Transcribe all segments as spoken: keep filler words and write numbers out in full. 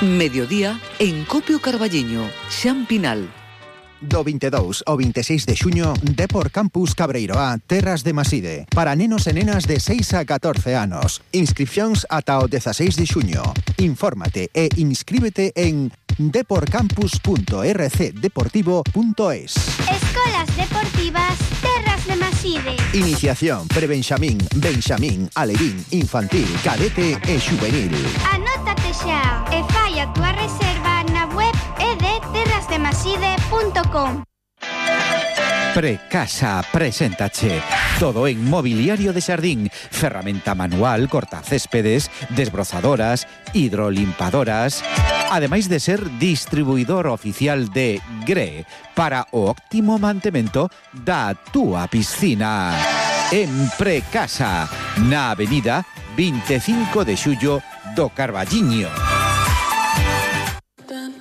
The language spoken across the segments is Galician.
Mediodía en Copio Carballiño, Xampinal. Do vinte e dous ao vinte e seis de xuño, Depor Campus Cabreiroá, Terras de Maside, para nenos e nenas de seis a catorce anos. Inscripcións ata o dezaseis de xuño. Infórmate e inscríbete en deporcampus punto r c deportivo punto es. Escolas Deportivas Terras de Maside. Iniciación prebenxamín, benxamín, alevín, infantil, cadete e xuvenil. Anótate xa e fai a túa reserva na web e de terras de maside punto com. Precasa preséntache todo en mobiliario de xardín, ferramenta manual, cortacéspedes, desbrozadoras, hidrolimpadoras, ademais de ser distribuidor oficial de Gre para o óptimo mantemento da túa piscina. En Precasa, na avenida vinte e cinco de xullo do Carballiño.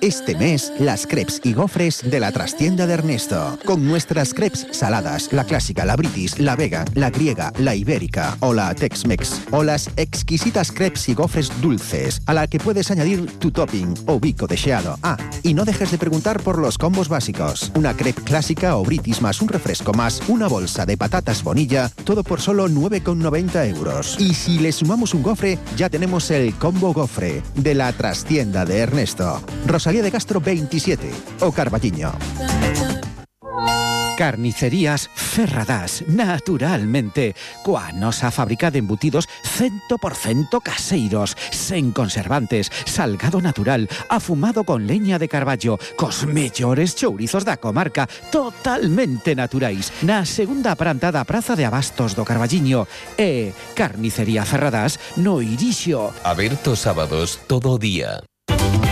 Este mes, las crepes y gofres de la trastienda de Ernesto. Con nuestras crepes saladas, la clásica, la british, la vega, la griega, la ibérica o la tex-mex. O las exquisitas crepes y gofres dulces, a la que puedes añadir tu topping o bico deseado. Ah, y no dejes de preguntar por los combos básicos. Una crepe clásica o british más un refresco más una bolsa de patatas bonilla, todo por solo nueve con noventa euros. Y si le sumamos un gofre, ya tenemos el combo gofre de la trastienda de Ernesto. Rosalía de Castro veintisiete, o Carballiño. Carnicerías Ferradás, naturalmente, coa nosa fábrica de embutidos cien por ciento caseiros, sen conservantes, salgado natural, afumado con leña de carballo, cos mellores chourizos da comarca, totalmente naturais, na segunda planta da Praza de Abastos do Carballiño, e Carnicería Ferradás no Irixo. Aberto sábados todo o día.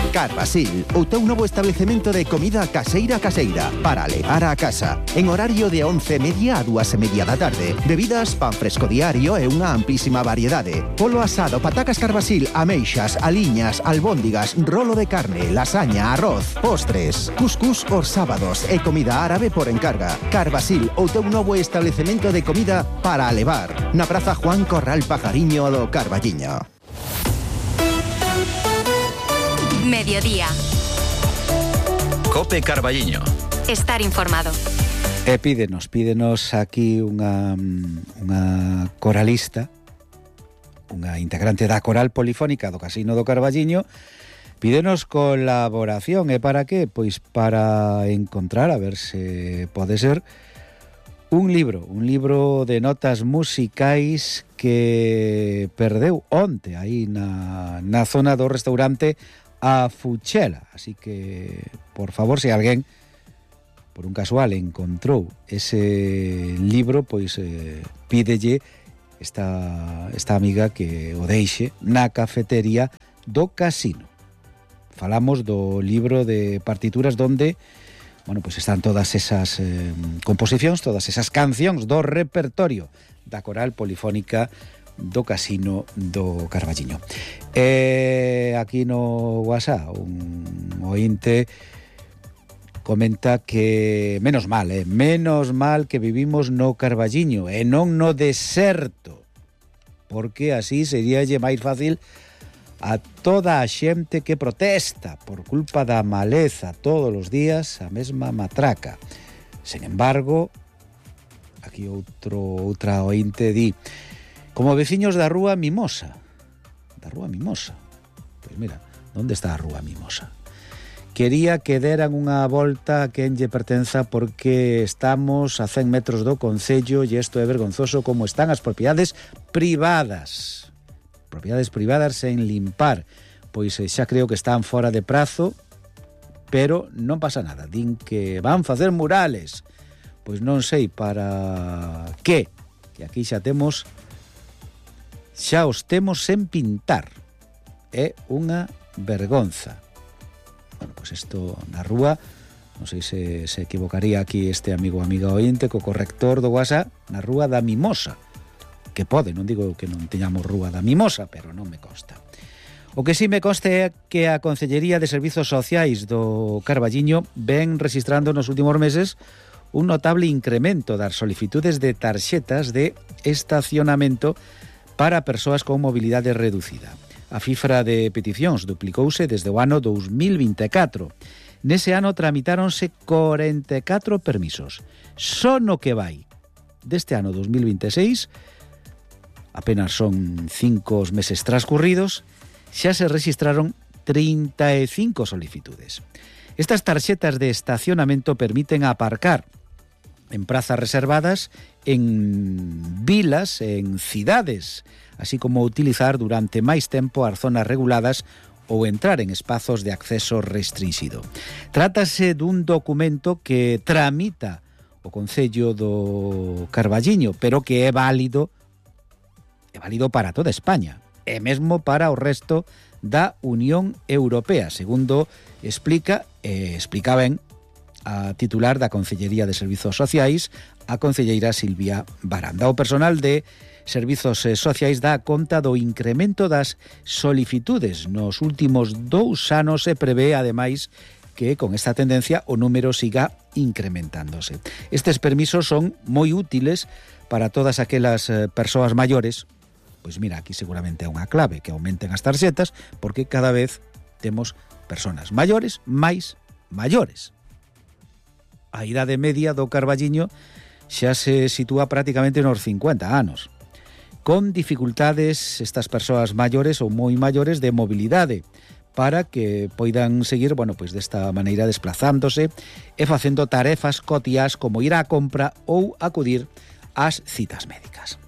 Carbasil, o teu novo establecemento de comida caseira caseira para levar a casa. En horario de once e media a dúas e media da tarde. Bebidas, pan fresco diario e unha amplísima variedade. Polo asado, patacas Carbasil, ameixas, aliñas, albóndigas, rolo de carne, lasaña, arroz, postres, cuscús os sábados e comida árabe por encarga. Carbasil, o teu novo establecemento de comida para levar. Na Praza Juan Corral Pajariño do Carballiño. Mediodía. Cope Carballiño. Estar informado. E pídenos, pídenos aquí unha, unha coralista, unha integrante da coral polifónica do Casino do Carballiño, pídenos colaboración. E para que? Pois para encontrar, a ver se pode ser, un libro, un libro de notas musicais que perdeu onte aí na, na zona do restaurante A Fuchela. Así que, por favor, se alguén por un casual encontrou ese libro, pois eh, pídelle esta, esta amiga que o deixe na cafetería do Casino. Falamos do libro de partituras donde, bueno, pois están todas esas eh, composicións, todas esas cancións do repertorio da coral polifónica do Casino do Carballiño. E aquí no WhatsApp un ointe comenta que menos mal, eh, menos mal que vivimos no Carballiño e non no deserto, porque así seríalle máis fácil a toda a xente que protesta por culpa da maleza todos os días a mesma matraca. Sen embargo, aquí outro outra ointe di: como veciños da Rúa Mimosa. Da Rúa Mimosa. Pois mira, onde está a Rúa Mimosa? Quería que deran unha volta a quen lle pertenza porque estamos a cen metros do concello e isto é vergonzoso como están as propiedades privadas. Propiedades privadas sen limpar. Pois xa creo que están fora de prazo, pero non pasa nada. Din que van facer murales. Pois non sei para que. Que aquí xa temos xa os temos sen pintar. É unha vergonza. Bueno, pois isto na rúa, non sei se se equivocaría aquí este amigo ou amiga ointe co corrector do WhatsApp, na rúa da Mimosa. Que pode, non digo que non teñamos rúa da Mimosa, pero non me consta. O que sí me consta é que a Consellería de Servizos Sociais do Carballiño ven registrando nos últimos meses un notable incremento das solicitudes de tarxetas de estacionamento para persoas con mobilidade reducida. A cifra de peticións duplicouse desde o ano dous mil vinte e catro. Nese ano tramitáronse corenta e catro permisos. Só no que vai deste ano dous mil vinte e seis, apenas son cinco os meses transcurridos, xa se registraron trinta e cinco solicitudes. Estas tarxetas de estacionamento permiten aparcar en prazas reservadas, en vilas, en cidades, así como utilizar durante máis tempo as zonas reguladas ou entrar en espazos de acceso restringido. Trátase dun documento que tramita o Concello do Carballiño, pero que é válido, é válido para toda España, e mesmo para o resto da Unión Europea, segundo explica, eh, explica ben a titular da Concellería de Servizos Sociais, a concelleira Silvia Baranda. O personal de Servizos Sociais dá conta do incremento das solicitudes nos últimos dous anos e prevé, ademais, que con esta tendencia o número siga incrementándose. Estes permisos son moi útiles para todas aquelas persoas maiores. Pois mira, aquí seguramente é unha clave que aumenten as tarxetas, porque cada vez temos persoas maiores máis maiores. A idade media do Carballiño xa se sitúa prácticamente nos cincuenta anos. Con dificultades estas persoas maiores ou moi maiores de mobilidade, para que poidan seguir, bueno, pois desta maneira desplazándose e facendo tarefas cotiás como ir á compra ou acudir ás citas médicas.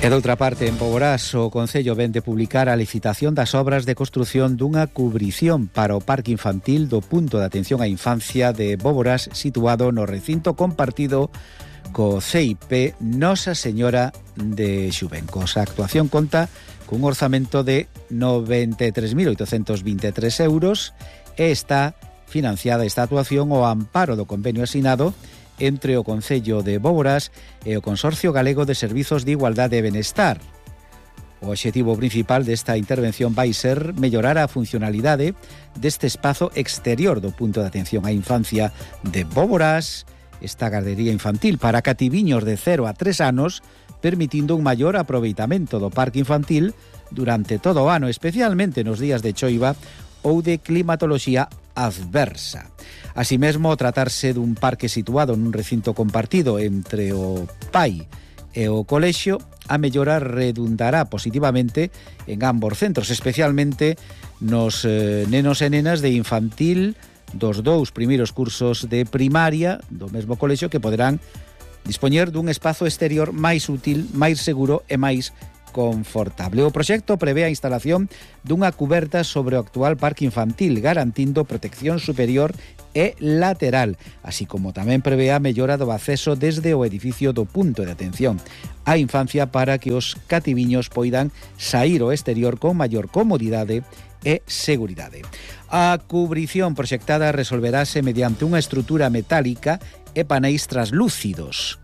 E doutra parte, en Boborás, o Concello ven de publicar a licitación das obras de construción dunha cubrición para o parque infantil do punto de atención á infancia de Boborás, situado no recinto compartido co C I P Nosa Señora de Xubencos. A actuación conta cun orzamento de noventa e tres mil oitocentos vinte e tres euros e está financiada esta actuación ao amparo do convenio asinado entre o Concello de Boborás e o Consorcio Galego de Servizos de Igualdade e Benestar. O obxectivo principal desta intervención vai ser mellorar a funcionalidade deste espazo exterior do punto de atención á infancia de Boborás, esta gardería infantil para cativiños de cero a tres anos, permitindo un maior aproveitamento do parque infantil durante todo o ano, especialmente nos días de choiva ou de climatoloxía adversa. Así mesmo, tratarse dun parque situado nun recinto compartido entre o pai e o colexio, a mellora redundará positivamente en ambos centros, especialmente nos eh, nenos e nenas de infantil dos dous primeiros cursos de primaria do mesmo colexio, que poderán dispoñer dun espazo exterior máis útil, máis seguro e máis confortable. O proxecto prevé a instalación dunha cuberta sobre o actual parque infantil, garantindo protección superior e lateral, así como tamén prevé a mellora do acceso desde o edificio do punto de atención á infancia para que os cativiños poidan saír ao exterior con maior comodidade e seguridade. A cubrición proxectada resolverase mediante unha estrutura metálica e paneis translúcidos,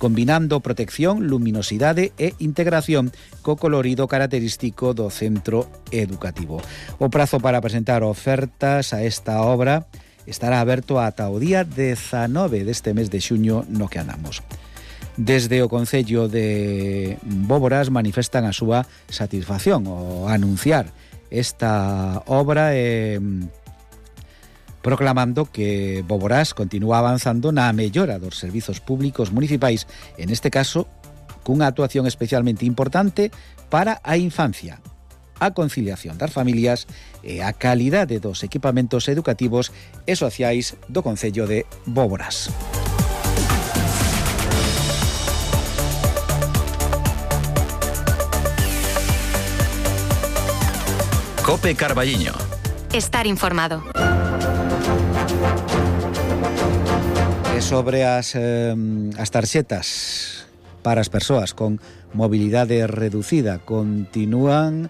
combinando protección, luminosidade e integración co colorido característico do centro educativo. O prazo para presentar ofertas a esta obra estará aberto ata o día dezanove deste mes de xuño no que andamos. Desde o Concello de Boborás manifestan a súa satisfacción ao anunciar esta obra e proclamando que Boborás continúa avanzando na mellora dos servizos públicos municipais, en este caso, cunha actuación especialmente importante para a infancia, a conciliación das familias e a calidade dos equipamentos educativos e sociais do Concello de Boborás. COPE Carballiño. Estar informado. E sobre as, eh, as tarxetas para as persoas con mobilidade reducida, continúan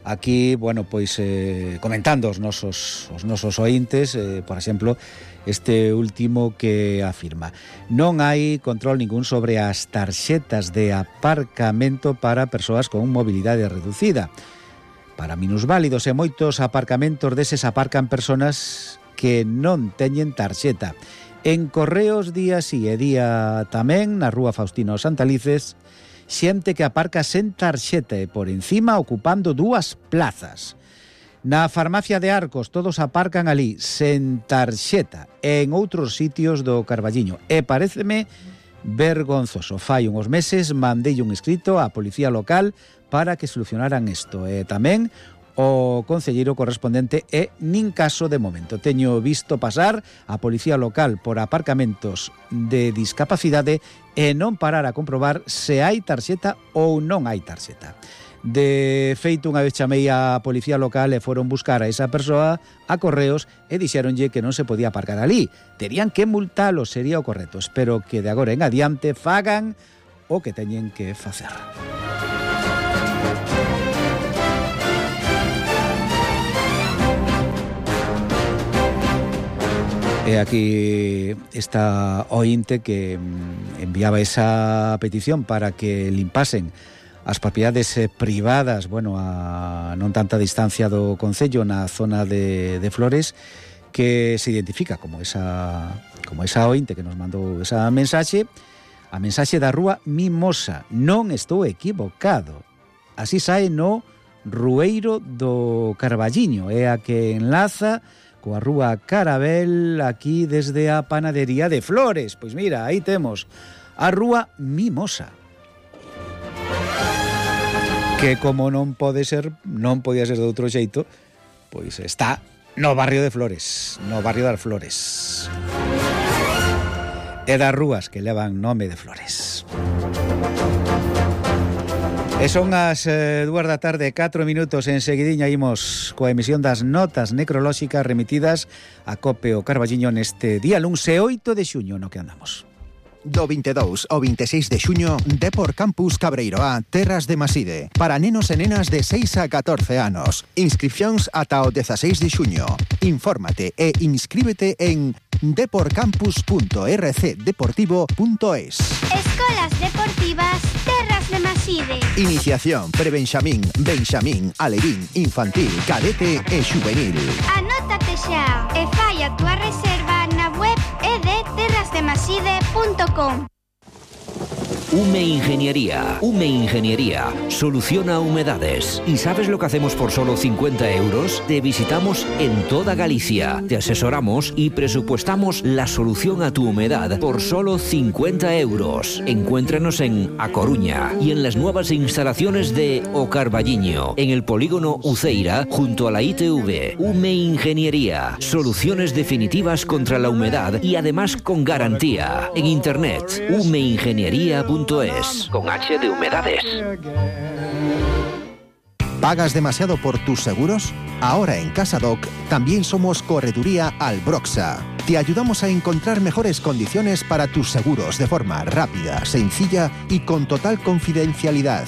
aquí, bueno, pois eh, comentando os nosos, os nosos ointes, eh, por exemplo, este último que afirma: non hai control ningún sobre as tarxetas de aparcamento para persoas con mobilidade reducida. Para minusválidos e moitos aparcamentos deses aparcan persoas que non teñen tarxeta. En Correos día si e día tamén, na rúa Faustino Santalices, xente que aparca sen tarxeta e por encima ocupando dúas plazas. Na farmacia de Arcos todos aparcan ali sen tarxeta e en outros sitios do Carballiño. E paréceme vergonzoso. Fai uns meses mandei un escrito á policía local para que solucionaran isto. E tamén o concelleiro correspondente e nin caso de momento. Teño visto pasar a policía local por aparcamentos de discapacidade e non parar a comprobar se hai tarxeta ou non hai tarxeta. De feito, unha vez chamei a policía local e foron buscar a esa persoa a correos e dixéronlle que non se podía aparcar ali. Terían que multalo, sería o correcto. Espero que de agora en adiante fagan o que teñen que facer. E aquí está ointe que enviaba esa petición para que limpasen as propiedades privadas, bueno, a non tanta distancia do concello na zona de, de Flores, que se identifica como esa como esa ointe que nos mandou esa mensaxe, a mensaxe da rúa Mimosa. Non estou equivocado. Así sae no Rueiro do Carballiño, é a que enlaza coa rúa Carabel aquí desde a panadería de Flores. Pois mira, aí temos a rúa Mimosa, que como non pode ser, non podía ser de outro xeito, pois está no barrio de Flores, no barrio das Flores. E das rúas que levan nome de Flores. E son as eh, dúas da tarde, catro minutos. En seguidiña imos coa emisión das notas necrolóxicas remitidas a Cope o Carballiño neste día luns e oito de xuño no que andamos. Do vinte e dous ao vinte e seis de xuño, Depor Campus Cabreiroá, Terras de Maside, para nenos e nenas de seis a catorce anos. Inscripcións ata o dezaseis de xuño. Infórmate e inscríbete en deporcampus punto r c deportivo punto es. Escolas Deportivas Terras de Maside. Iniciación, prebenxamín, benxamín, alevín, infantil, cadete e xuvenil. Anótate xa e fai a túa reserva na web e de terras de maside punto com. Ume Ingeniería. Ume Ingeniería soluciona humedades. ¿Y sabes lo que hacemos por solo cincuenta euros? Te visitamos en toda Galicia. Te asesoramos y presupuestamos la solución a tu humedad por solo cincuenta euros. Encuéntranos en A Coruña y en las nuevas instalaciones de O Carballiño, en el polígono Uceira, junto a la I T V. Ume Ingeniería. Soluciones definitivas contra la humedad y además con garantía. En internet, ume ingeniería punto es. Con H de humedades. ¿Pagas demasiado por tus seguros? Ahora en Casadoc también somos Correduría Albroxa. Te ayudamos a encontrar mejores condiciones para tus seguros de forma rápida, sencilla y con total confidencialidad.